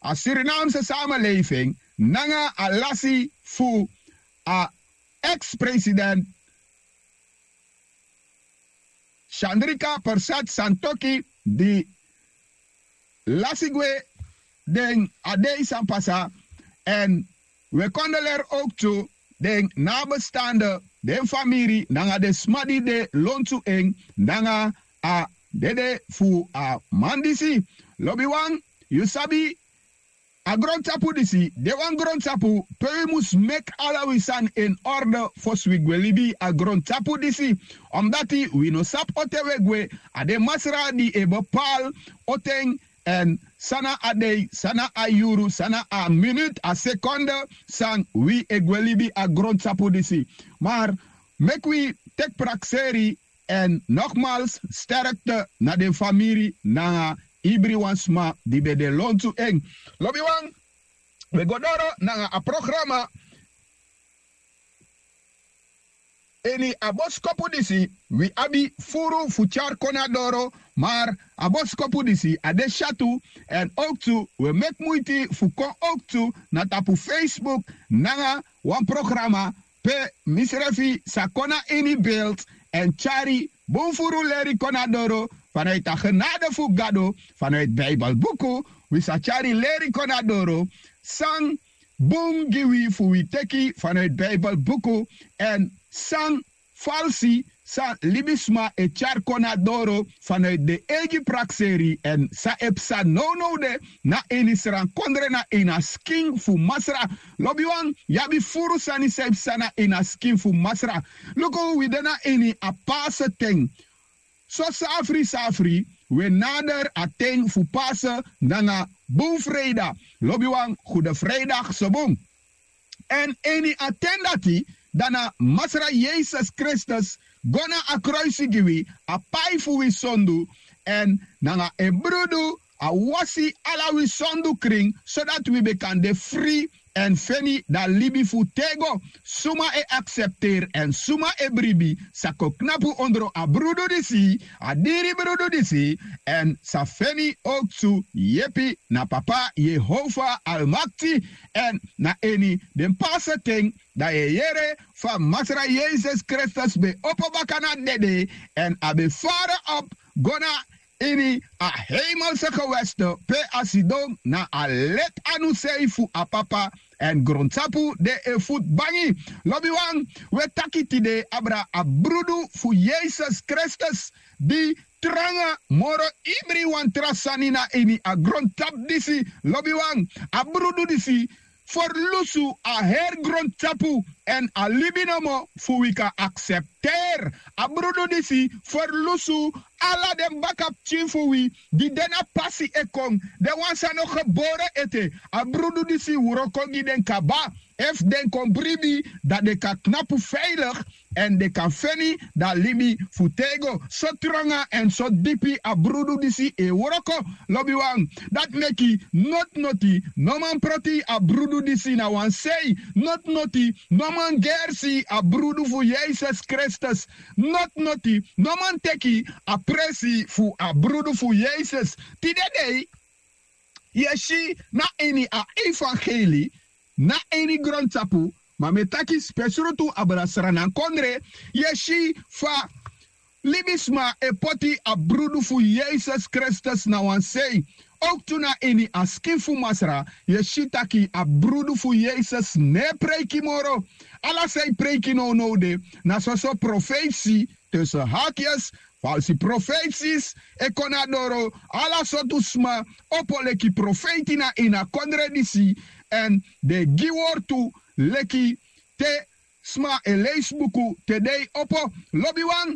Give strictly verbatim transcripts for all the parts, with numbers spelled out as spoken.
a Surinaamse samenleving nanga a lasi fu a ex-president Chandrika Persat Santoki di lasi gwe den a dei san pasa. Èn wi e kondoleri owktu den nabestande, den famiri nanga den sma di de lontu en nanga a dede fu a man disi. Lobiwan, yu sabi, a grontapu disi de wan grontapu pe wi mus meki ala wi sani en orde fosi wi gwe libi a grontapu disi. Omdati wi no sabi ote wi e gwe, a de masra di e bepaal oten èn san na a dei, san na a yuru, san na a minutu, a sekonde san wi e gwe libi a grontapu disi. Mar meki wi teki prakseri. Èn nogmals, sterkte na den famiri nanga ibri wan sma di ben de lontu en. Lobiwan, wi e go doro nanga a programa. Ini a boskopu disi wi abi furu fu tyari kon na doro, mar a boskopu disi a de syatu. Èn owktu wi e meki muiti fu kon owktu na tapu Facebook nanga wan programa pe misrefi sa kon na ini beeld èn tyari bun furu leri kon na doro. Vanuit a genade fu Gado, vanuit Bijbelbuku, wi sa tyari leri kon na doro san bun gi wi fu wi teki vanuit Bijbelbuku, èn san falsi san libisma e tyari kon na doro vanuit den eigi prakseri èn san e psa nownow de na ini srankondre na ini a skin fu Masra. Lobiwan, yu abi furu sani san e psa na ini a skin fu Masra. Luku, wi de na ini a Pasa ten. So safri safri wi e nader a ten fu Pasa nanga Bun Freida. Lobiwan, Gude Freida so bun. Èn ini a ten dati, dan na Masra Yesus Kristus go na a kroisi gi wi, a pai fu wi sondu, èn nanga en brudu a wasi ala wi sondu krin, sodati wi ben kan de fri èn feni dan libi fu têgo. Suma e aksepteri èn suma e bribi sa kon knapu ondro a brudu disi, a diri brudu disi, èn sa feni owktu yepi na Papa Yehova Almakti. Èn na ini den Pasa ten, dan yu e yere fa Masra Yesus Kristus ben opo baka na dede, èn a ben fara op go na ini a heimelse geweste pe a sidon na a leti anu sei fu a Papa, èn grontapu de en futu bangi. Lobiwan, wi e taki tide abra a brudu fu Yesus Kristus di tranga moro ibri wan tra sani na ini a grontapu disi. Lobiwan, a brudu disi ferlusu a heri grontapu èn a libi nomo fu wi kan aksepteri. A brudu disi ferlusu ala den bakapikin fu wi di de na pasi e kon, den wan san no gebore ete. A brudu disi wroko gi den kaba. Efu den kon bribi, dan den kan knapu veilig èn den kan feni dan libi fu têgo. So tranga èn so dipi a brudu disi e wroko. Lobiwan, dati meki noti noti no man proti a brudu disi na wan sei. Noti noti no man gersi a brudu fu Yesus Kristus. Noti noti no man teki a presi fu a brudu fu Yesus. Tide dei, yu e si na ini a evangeli, na ini grontapu, ma mi e taki spesrutu abra sranankondre, yu e si fa libisma e poti a brudu fu Yesus Kristus na wan sei. Owktu na ini a skin fu Masra, yu e si taki a brudu fu Yesus no e preiki moro. Ala san e preiki nownow de na soso profeisi, tussen haakjes, falsi profeisi e kon na doro. Ala sortu sma opo leki profeiti na ini a kondre disi, èn den e gi wortu leki te sma e leisi buku te dei opo. Lobiwan,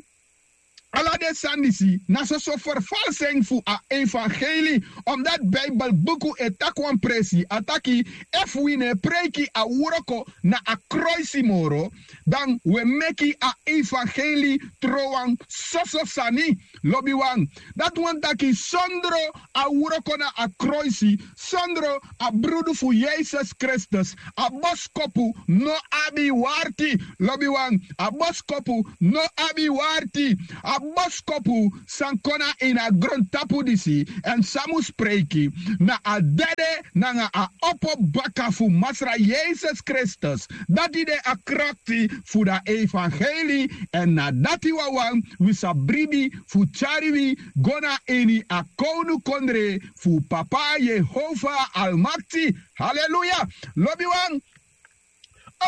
ala den sani disi na soso ferfalsing fu a evangeli. Omdati Bijbelbuku e taki wan presi, a taki, efu wi no e preiki a wroko na a kroisi moro, dan wi e meki a evangeli trowan soso sani. Lobiwan, dati wani taki sondro a wroko na a kroisi, sondro a brudu fu Yesus Kristus, a boskopu no abi warti. Lobiwan, a boskopu no abi warti. A boskopu san kon na ini a grontapu disi, èn san mus preiki na a dede nanga a opo baka fu Masra Yesus Kristus. Dati de a krakti fu da evangeli, èn na dati wawan wi sa bribi fu tyari wi go na ini a kownukondre fu Papa Yehova Almakti. Haleluya! Lobiwan,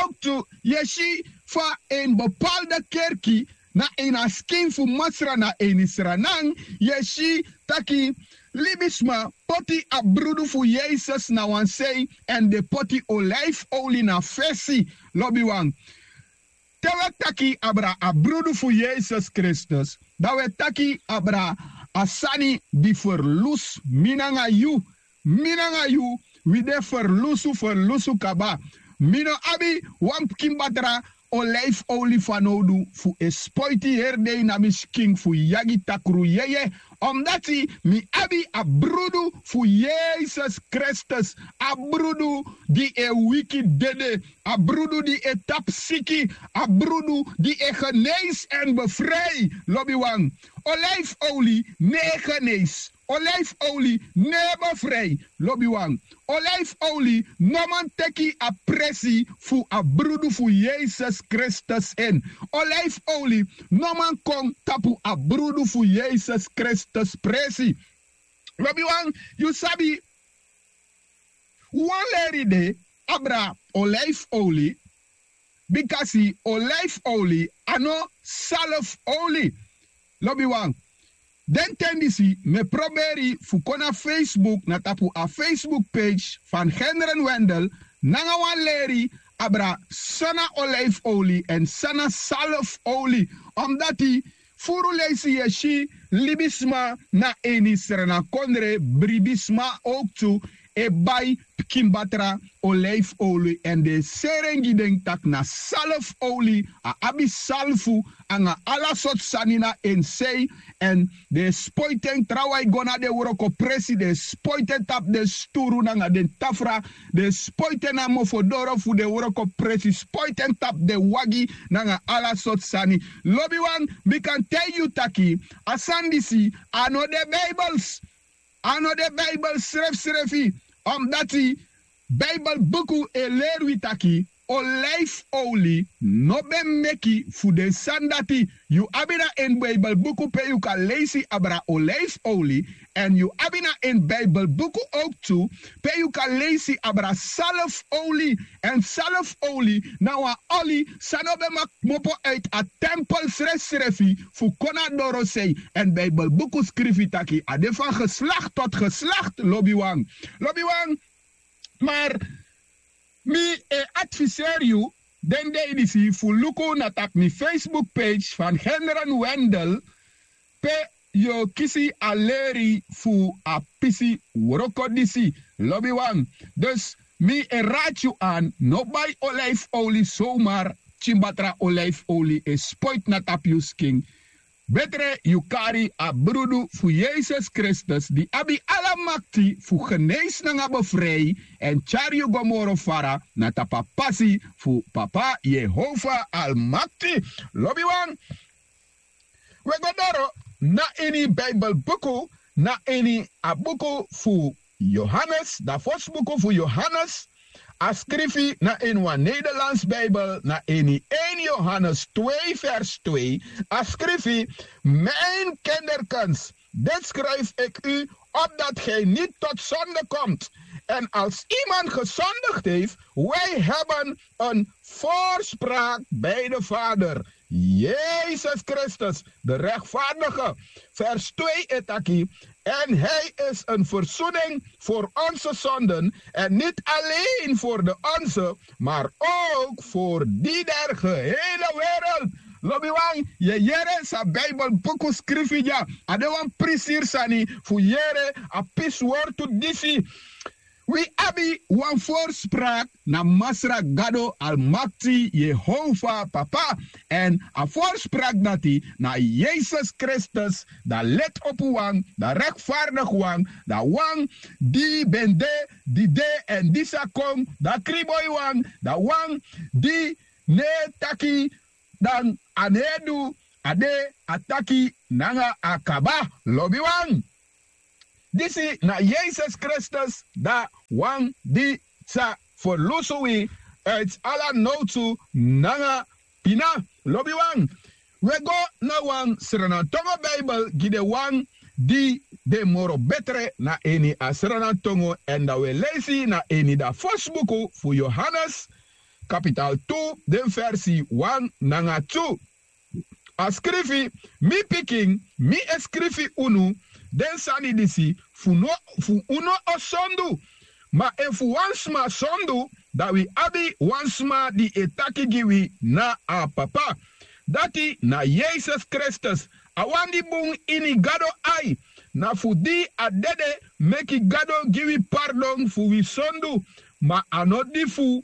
owktu yu e si fa en bepaalde kerki na ini a skin fu Masra na ini Sranan, yu e si taki libisma poti a brudu fu Yesus na wan sei èn den poti olijfoli na fesi. Lobiwan, te wi e taki abra a brudu fu Yesus Kristus, dan wi e taki abra a sani di ferlusu mi nanga yu. Mi nanga yu, wi de ferlusu ferlusu kaba. Mi no abi wan pikin batra olijfoli fanowdu fu e spoiti heri dei na mi skin fu yagi takru yeye. Omdati mi abi a brudu fu Yesus Kristus, a brudu di e wiki dede, a brudu di e tapu siki, a brudu di e geneisi èn befrei. Lobiwan, olijfoli no e geneisi. Olijfoli no e befrei. Lobiwan, olijfoli no man teki a presi fu a brudu fu Yesus Kristus en. Olijfoli no man kon tapu a brudu fu Yesus Kristus presi. Lobiwan, yu sabi, wan leri de abra olijfoli, bikasi olijfoli a no salfoli. Lobiwan, den ten disi mi e proberi fu kon na Facebook, na tapu a Facebook page fan Gendren Wendel, nanga wan leri abra san na olijfoli èn san na salfoli. Omdati furu leisi yu e si libisma na ini Sranakondre, bribisma owktu e bai pikin batra olijfoli èn den e seri en gi den taki na salfoli, a abi salfu anga ala sortu sani na en sei. Èn den e spoiti en trawan e go na den wrokopresi, den e spoiti en tapu den sturu nanga den tafra, den e spoiti en na mofodoro fu den wrokopresi, spoiti en tapu den wagi nanga ala sortu sani. Lobiwan, mi kan taigi yu taki a sani disi a no de Bijbels. A no de Bijbel srefsrefi. Omdati Bijbel buku e leri wi taki olijfoli no ben meki fu den sani dati. Yu abi na en Bijbel buku pe yu kan leisi abra olijfoli, èn yu abi na en Bijbel buku owktu pe yu kan leisi abra salfoli. Èn salfoli na wan oli san no ben maki kmopo uiti a tempel srefsrefi fu kon na dorosei. Èn Bijbel buku skrifi taki a de fan geslakti tot geslakti. Lobiwan, lobiwan, mar mi e adviseri yu den dei disi fu luku na tapu mi Facebook page fan Gendren Wendel, pe yu o kisi a leri fu a pisi wroko disi. Lobiwan, dus mi e rati yu an, no bai olijfoli somar, pikin batra olijfoli e spoiti na tapu yu skin. Betre yu kari a brudu fu Yesus Kristus di abi ala makti fu geneisi nanga befrei èn tyari yu go moro fara na tapu a pasi fu Papa Yehova Almakti. Lobiwan, wi e go doro na ini Bijbel buku, na ini a buku fu Yohanes, da fosi buku fu Yohanes, a skrifi na ini wan Nederlands Bijbel, na ini één Johannes twee vers twee, a skrifi: Mijn kinderkens, dit schrijf ik u, opdat gij niet tot zonde komt. En als iemand gezondigd heeft, wij hebben een voorspraak bij de Vader. Jezus Christus, de rechtvaardige. Vers twee e taki: En hij is een verzoening voor onze zonden, en niet alleen voor de onze, maar ook voor die der gehele wereld. Lobiwan, yu e yere san Bijbel buku skrifi dya. A de wan prisiri sani fu yere a pisi wortu disi. Wi abi wan voorspraak na Masra Gado Almakti, Yehova Papa. Èn a voorspraak dati na Yesus Kristus, da leti-opu wan, da rechtvaardig wan, da wan di ben de, di de èn di sa kon, da kriboi wan, da wan di no e taki dan a no e du, a de a taki nanga a kaba. Lobiwan, disi na yesus kristus, da wan di sa ferlusu wi uiti ala nowtu nanga pina. Lobiwan, wi e go na wan sranantongo bibel gi den wan di de moro betre na ini a sranantongo èn da wi e leisi na ini da fosi buku fu yohanes kapital tu, den versi wan nanga tu. A skrifi: mi pikin, mi e skrifi unu den sani disi fu no fu unu o sondu. Ma efu wan sma sondu, dan wi abi wan sma di e taki gi wi na a papa. Dati na yesus kristus, a wan di bun ini gado ai. Na fu di a dede meki gado gi wi pardon fu wi sondu, ma a no di fu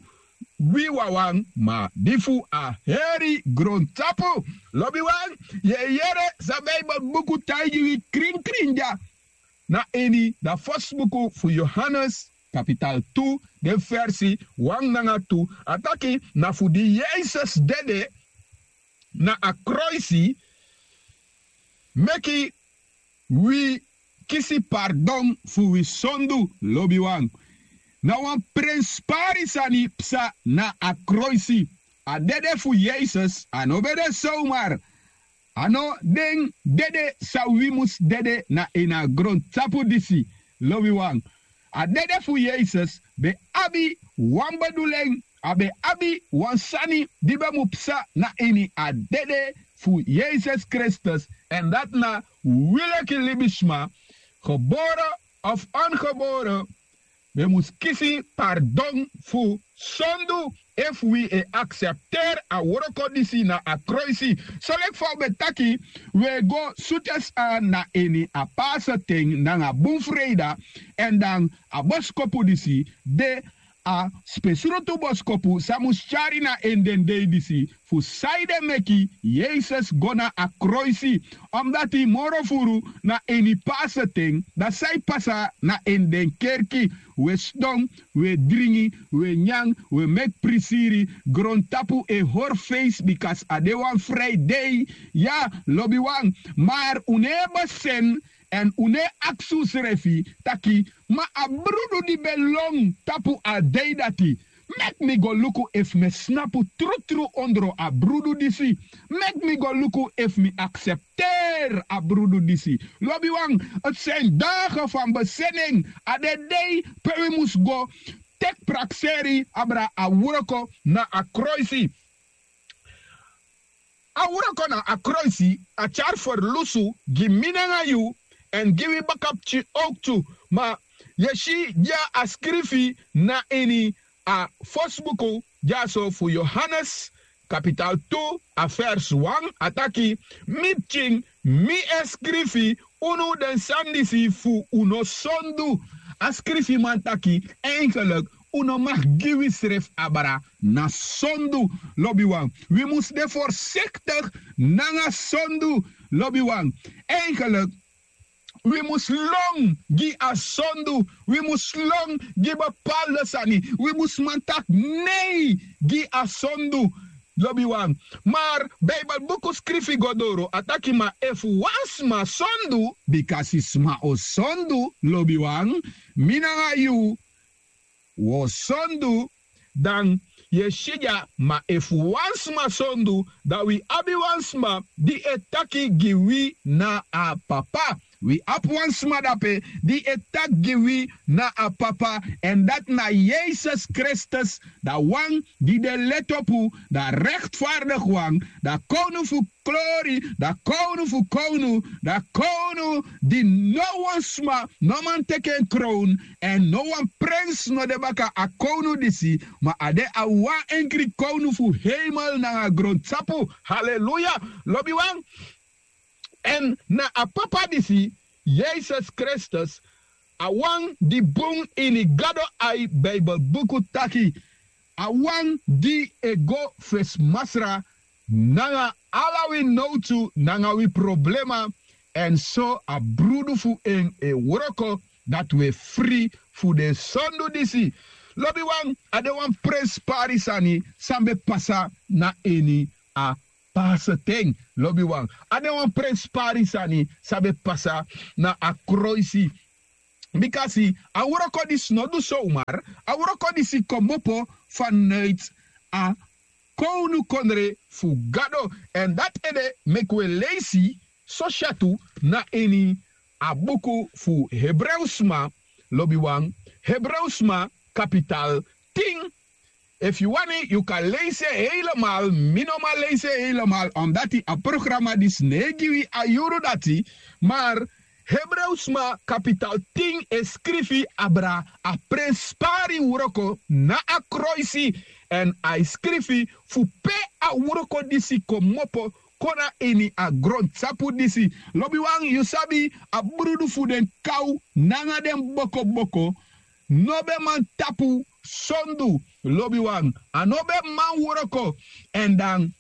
wi wawan, ma di fu a heri grontapu. Lobiwan, yu e yere san bibel buku taigi wi krinkrin dya. Na ini da fosi buku fu yohanes kapital tu, den versi wan nanga tu, a taki na fu di yesus dede na a kroisi meki wi kisi pardon fu wi sondu. Lobiwan, na wan prenspari sani psa na a kroisi. A dede fu yesus a no ben de somar. A no den dede san wi mus dede na ini a grontapu disi. Lobiwan, a dede fu yesus ben abi wan bedulen, a ben abi wan sani di ben mu psa na ini a dede fu yesus kristus. Èn dati na wi leki libisma, gebore of ongebore, wi mus kisi pardon fu sondu efu wi e aksepteri a wroko disi na a kroisi. So leki fa un ben taki, wi e go sutesi an na ini a pasa ten nanga bun freida. Èn dan a boskopu disi de a spesrutu boskopu san mus tyari na ini den dei disi, fu sanede meki yesus go na a kroisi. Omdati moro furu na ini pasa ten, dan san e pasa na ini den kerki? Wi e sidon, wi e dringi, wi e nyan, wi e meki prisiri, grontapu e hori feisi bika a de wan fri dei. Ya, lobiwan, mar un no e besen èn un no e aksi unsrefi taki, ma a brudu di ben lon tapu a dei dati, meki mi go luku efu mi e snapu trutru ondro a brudu disi. Meki mi go luku efu mi aksepteri a brudu disi. Lobiwan, a seni dage fan beseni en, a de dei pe wi mus go teki prakseri abra a wroko na a kroisi. A wroko na a kroisi a tyari ferlusu gi mi nanga yu èn gi wi bakapikin owktu. Ma yu e si dya a skrifi na ini a fosi buku dyaso fu yohanes kapital tu, a vers wan, a taki: mi pikin, mi e skrifi unu den sani disi fu un no sondu. A skrifiman taki, enkeliki un no mag gi wisrefi abra na sondu. Lobiwan, wi mus de forsektigi nanga sondu. Lobiwan, enkeliki wi mus lon gi a sondu. Wi mus lon gi bepalde sani. Wi mus man taki nei gi a sondu. Lobiwan, mar bibelbuku skrifi go doro a taki ma efu wan sma sondu, bikasi sma o sondu, lobiwan, mi nanga yu wi o sondu. Dan yu e si dya, ma efu wan sma sondu, dan wi abi wan sma di e taki gi wi na a papa. Wi abi wan sma dape di e taki gi wi na a papa, èn dati na yesus kristus, da wan di de letopu, da rektfardigi wan, da kownu fu klori, da kownu fu kownu, da kownu di no wan sma no man teki en krown, èn no wan prens no de baka a kownu disi, ma a de a wan enkri kownu fu heimel nanga grontapu. Haleluya. Lobiwan, èn na a papa disi, yesus kristus, a wan di bun ini gado ai, bibelbuku taki, a wan di e go fesi masra nanga ala wi nowtu nanga wi problema, èn so a brudu fu en e wroko dati wi e fri fu den sondu disi. Lobiwan, a de wan prenspari sani san ben pasa na ini a paaseten, lobiwan. A de wan prenspari sani san ben pasa na a kroisi. Bika si, a wroko disi no du somar. A wroko disi kmopo fanuiti a kownukondre fu gado. Èn dati ede meki wi e leisi sosi a tu na ini a buku fu Hebreusma, lobiwan, Hebreusma kapital tin. Efu yu wani, yu kan leisi en heilemal. Mi no man leisi en heilemal, omdati a programa disi no e gi wi a yuru dati. Mar Hebreusma kapital tin e skrifi abra a prenspari wroko na a kroisi. Èn a e skrifi fu pe a wroko disi kmopo kon na ini a grontapu disi. Lobiwan, yu sabi, a brudu fu den kaw nanga den bokoboko no ben man tapu sondu, lobiwan. A no ben man wroko. Èn dan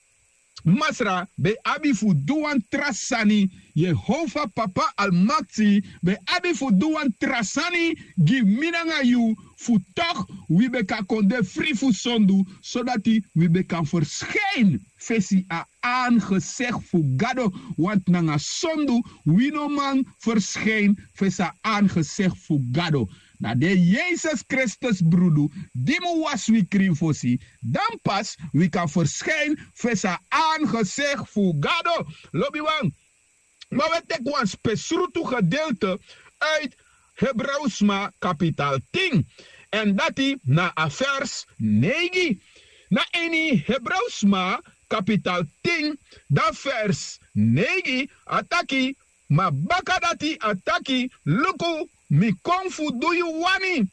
Masra ben abi fu du wan tra sani. Yehova Papa Almakti ben abi fu du wan tra sani gi mi nanga yu, fu tok' wi ben kan kon de fri fu sondu, sodati wi ben kan ferskijn fesi a aangezicht fu Gado. Want nanga sondu wi no man ferskijn fesi a aangezicht fu Gado. Na den Yesus Kristus brudu di mu wasi wi krin fosi, dan pas wi kan ferskijn fesi a aangezicht fu Gado. Lobiwan, ma wi e teki wan spesrutu gedeelte uit Hebreusma kapital tin. Èn dati na a vers neigi. Na ini Hebreusma kapital tin, dan vers neigi, a taki: Ma baka dati a taki: Luku, mi kon fu du yu wani.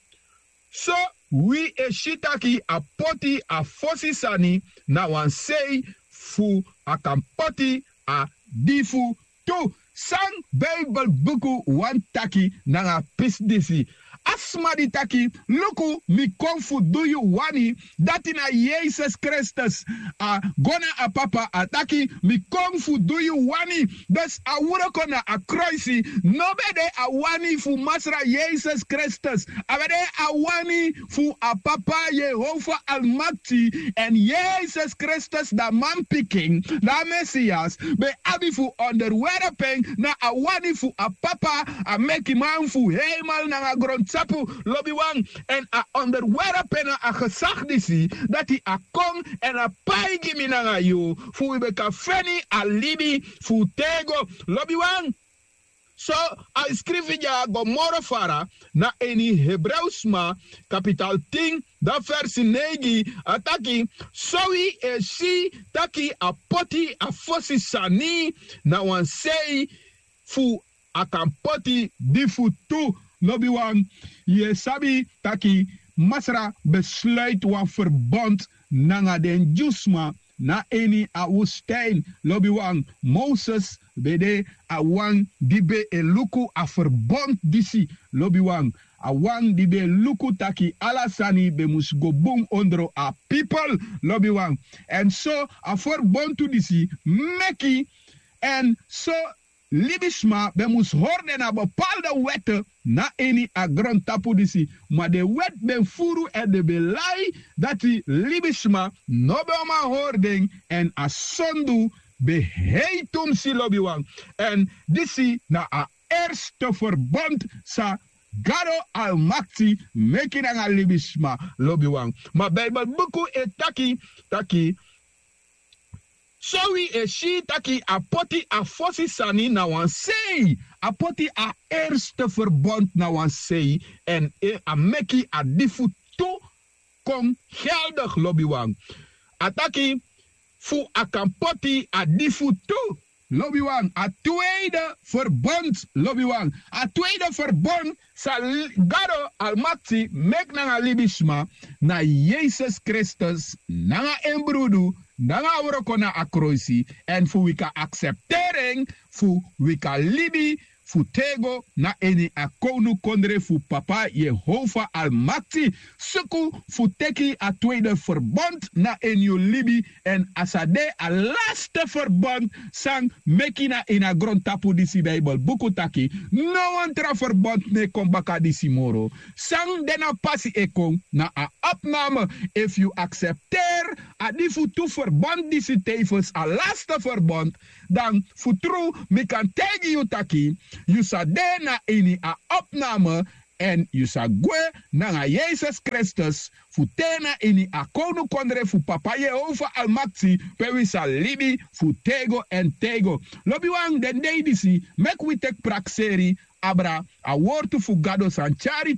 So wi e si taki a poti a fosi sani na wan sei fu a kan poti a di fu tu. San Bijbelbuku wani taki nanga a pisi disi? A sma di taki: Luku, mi kon fu du yu wani, dati na Yesus Kristus. A go na a Papa, a taki: Mi kon fu du yu wani. Dus a wroko na a kroisi no ben de a wani fu Masra Yesus Kristus. A ben de a wani fu a Papa Yehova Almakti. Èn Yesus Kristus, da manpikin, da Mesias, ben abi fu onderwerp en na a wani fu a Papa, a mekiman fu heimel nanga grontapu, lobiwan. Èn a onderwerp en na a gezag disi, dati a kon èn a pai gi mi nanga yu, fu wi ben kan feni a libi fu tego, lobiwan. So a e skrifi dya go moro fara na ini Hebreusma kapital tin, dan versi neigi, a taki: So wi e si taki a poti a fosi sani na wan sei fu a kan poti di fu tu. Lobiwan, yu e sabi taki Masra ben sluiti wan ferbond nanga den Dyusma na ini a woestijn. Lobiwan, Moses ben de a wan di ben e luku a ferbond disi. Lobiwan, a wan di ben e luku taki ala sani ben mus go bun ondro a pipel. Lobiwan, èn so a ferbontu disi meki, èn so libisma ben mus hori den na bepaalde wèt na ini a grontapu disi. Ma den wèt ben furu èn den ben lai, dati libisma no ben o man hori den, èn a sondu ben hei tumsi, lobiwan. Èn disi na a erste ferbond san Gado Almakti meki nanga libisma, lobiwan. Ma Bijbelbuku e taki taki so wi e si taki a poti a fosi sani na wan sei. A poti a erste ferbond na wan sei, èn a meki a di fu tu kon geldig, lobiwan. A taki fu a kan poti a di fu tu. Lobiwan, a tweede ferbond, lobiwan. A tweede ferbond san Gado Almakti meki nanga libisma na Yesus Kristus, nanga en brudu, nanga a wroko na a kroisi, èn fu wi kan aksepteri en, fu wi kan libi fu tego na ini a kownukondre fu Papa Yehova Almakti. Suku fu teki a tweede ferbond na ini yu libi, èn a sa de a laste ferbond san meki na ini a grontapu disi. Bijbelbuku taki no wan tra ferbond no e kon baka disi moro. San de na pasi e kon na a opname. Efu yu aksepteri a di fu tu ferbond disi tefens a laste ferbond, dan fu tru mi kan taigi yu taki yu sa de na ini a opname, èn yu sa gwe nanga yesus kristus fu te na ini a kownukondre fu papa yehova almakti, pe wi sa libi fu tego èn tego. Lobiwan, den dei disi meki wi teki prakseri abra a wortu fu gado san tyari